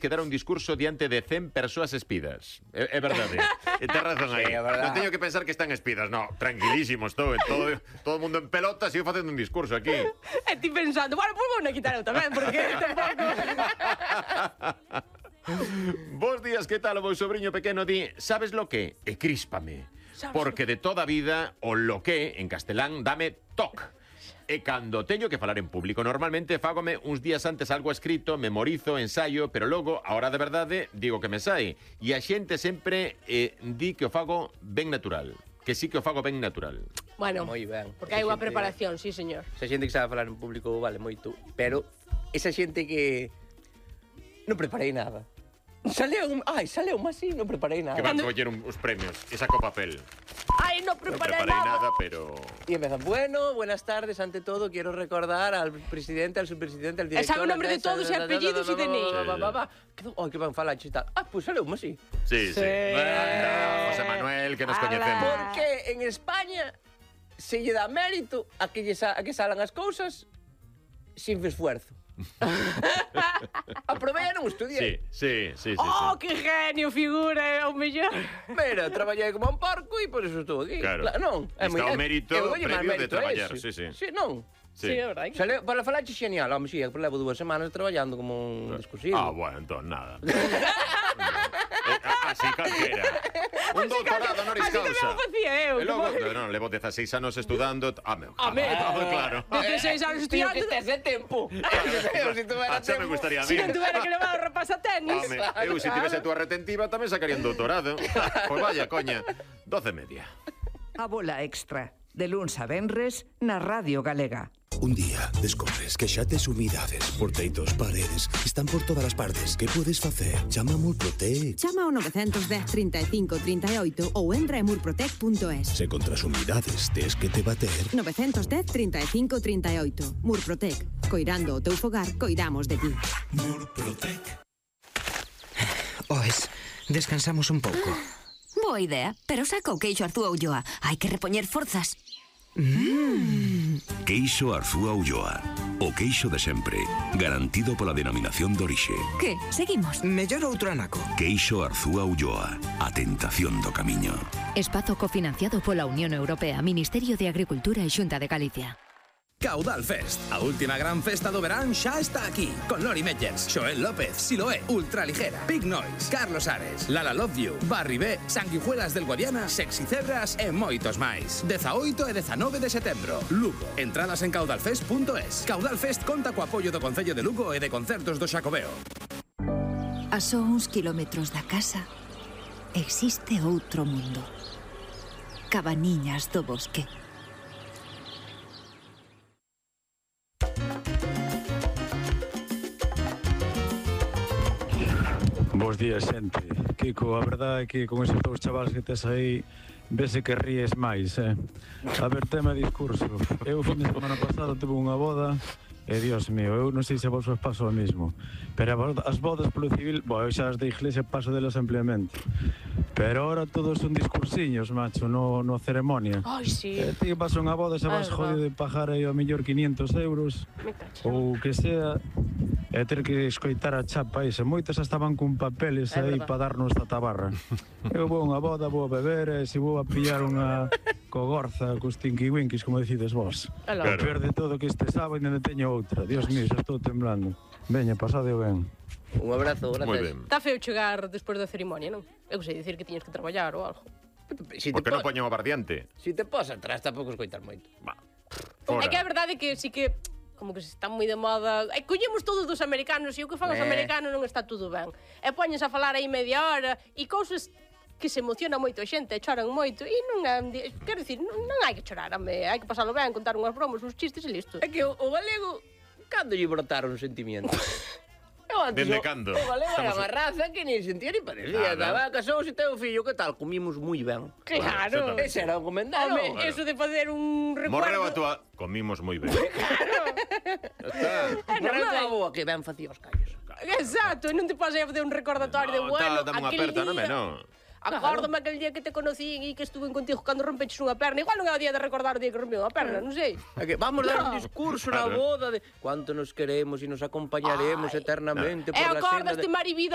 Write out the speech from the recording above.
que dar un discurso diante de 100 persoas espidas. É verdade. Ten razón aí. Sí, é verdade. Non teño que pensar que están espidas. No, tranquilísimos, todo o mundo en pelotas e eu facendo un discurso aquí. E ti pensando, bueno, pues vou na quitar eu tamén, porque tampouco... Bos días, que tal? O meu sobrinho pequeno di, sabes lo que? E críspame. Porque de toda a vida o lo que, en castelán, dame toc. E cando teño que falar en público, normalmente fágome uns días antes algo escrito, memorizo, ensayo, pero logo, a hora de verdade, digo que me sae. E a xente sempre di que o fago ben natural. Que sí que o fago ben natural. Bueno, Moi ben. porque hai unha preparación, sí, señor. Esa xente que sabe falar en público vale moito, pero esa xente que non preparei nada. Saleu así, non preparei nada. Que van coller os premios e saco papel. Ai, non Non preparei preparei nada. nada, pero... Y empezan, bueno, buenas tardes, ante todo quiero recordar al presidente, al subpresidente, al director... sabe o nombre de todos e apellidos e DNI. Ai, que ben falar e tal. Ah, pues saleu-me así. Sí, sí. Anda, José Manuel, que nos Ala. coñecemos. Porque en España se lle dá mérito a que salan as cousas sin esfuerzo. Aprobei e non estudiei. Sí. Oh, que genio, figura, é o mellor. Mira, traballei como un porco e por eso estou aquí. Claro. Non, Está o mérito eu doulle máis previo de mérito a traballar, ese. sí. Sí, non. Sí, é verdade. Para falar xenial, home, sí, levo 2 semanas traballando como un discursivo. Ah, bueno, entón nada. Así calquera. Un doutorado honoris Así tamén causa. o facía eu. E logo, non, levo 16 anos estudando. Claro. 16 anos Tío, estudiando. que tes de tempo. Se tuvera Xa me tempo. gustaría a Si mí. non tuvera que levar o rapaz a tenis. Home, eu se tivese a túa retentiva tamén sacaría un doutorado. Pois vaya, coña, 12:30. A bola extra, de luns a venres, na Radio Galega. Un día descobres que xa tes humidades, porteitos, paredes, están por todas as partes. Que podes facer? Chama a Murprotec. Chama ao 910 35 38 ou entra en murprotec.es. Se contra as humidades tes que te bater. 910 35 38. Murprotec. Coirando o teu fogar, coidamos de ti. Murprotec. Oes, descansamos un pouco. Boa idea, pero saca o queixo Arzúa Ulloa. Hai que repoñer forzas. Queixo Arzúa Ulloa. O queixo de sempre, garantido pola denominación de orixe. Que? Seguimos. Mellor outro anaco. Queixo Arzúa Ulloa. A tentación do camiño. Espazo cofinanciado pola Unión Europea, Ministerio de Agricultura e Xunta de Galicia. Caudal Fest, a última gran festa do verán xa está aquí, con Lori Meyers, Xoel López, Siloé, Ultraligera, Big Noise, Carlos Ares, Lala Love You, Barry B, Sanguijuelas del Guadiana, Sexy Cebras e moitos máis. 18 e 19 de setembro, Lugo. Entradas en caudalfest.es. Caudal Fest conta co apoio do Concello de Lugo e de Concertos do Xacobeo. A só uns kilómetros da casa existe outro mundo. Cabaniñas do Bosque. Bos días, xente. Kiko, a verdade é que con esos dous chavales que tes aí vese que ríes máis, A ver, tema discurso. Eu, fin de semana pasado, tuve unha boda e, Dios mío, eu non sei se vos paso o mismo. Pero as bodas polo civil, eu xa as de iglesia paso delas ampliamente. Pero ahora todos son discursiños, macho, no ceremonia. Ai, sí. Ti vas a unha boda xa vas jodido de pagar aí ao mellor 500 euros ou que sea, e ter que escoitar a chapa esa. Moitas estaban cun papeles aí para darnos a tabarra. Eu vou a unha boda, vou a beber, e se vou a pillar unha cogorza cos tinky-winkies, como decides vos. O peor de todo que este sábado ainda teño outra. Dios mío, xa estou temblando. Veña, pasade ben. Un abrazo, gracias. Moi ben. Está feo chegar despois da ceremonia, non? Eu sei dicir que tiñes que traballar ou algo. Porque non poñen o bardiante. Si te pos atrás, tampouco escoitar moito. É que a verdade é que sí que como que se está moi de moda. Collemos todos dos americanos e o que fan os americanos non está tudo ben. E poñes a falar aí media hora e cousas que se emociona moito a xente, e choran moito e non é, quero dicir, non hai que chorar, hai que pasalo ben, contar unhas bromas, uns chistes e listo. É que o galego, cando lle brotaron sentimentos? Dende cando? O galego era unha raza que ni sentía ni parecía. Estaba casou e teu fillo, que tal? Comimos moi ben. Claro. Ese era o comentario. Home, eso de fazer un recuerdo. Morreu a túa... Comimos moi ben. Morreu a túa boa, que ben facía os callos. Exacto, non te podes facer un recordatorio de bueno, dame unha aperta, non me, non. Acórdame aquel día que te conocí e que estuve contigo cando rompeches unha perna. Igual non é o día de recordar o día que rompeu unha perna, non sei. Vamos dar un discurso na boda de cuánto nos queremos e nos acompañaremos eternamente por la senda de... acordaste, Marivida,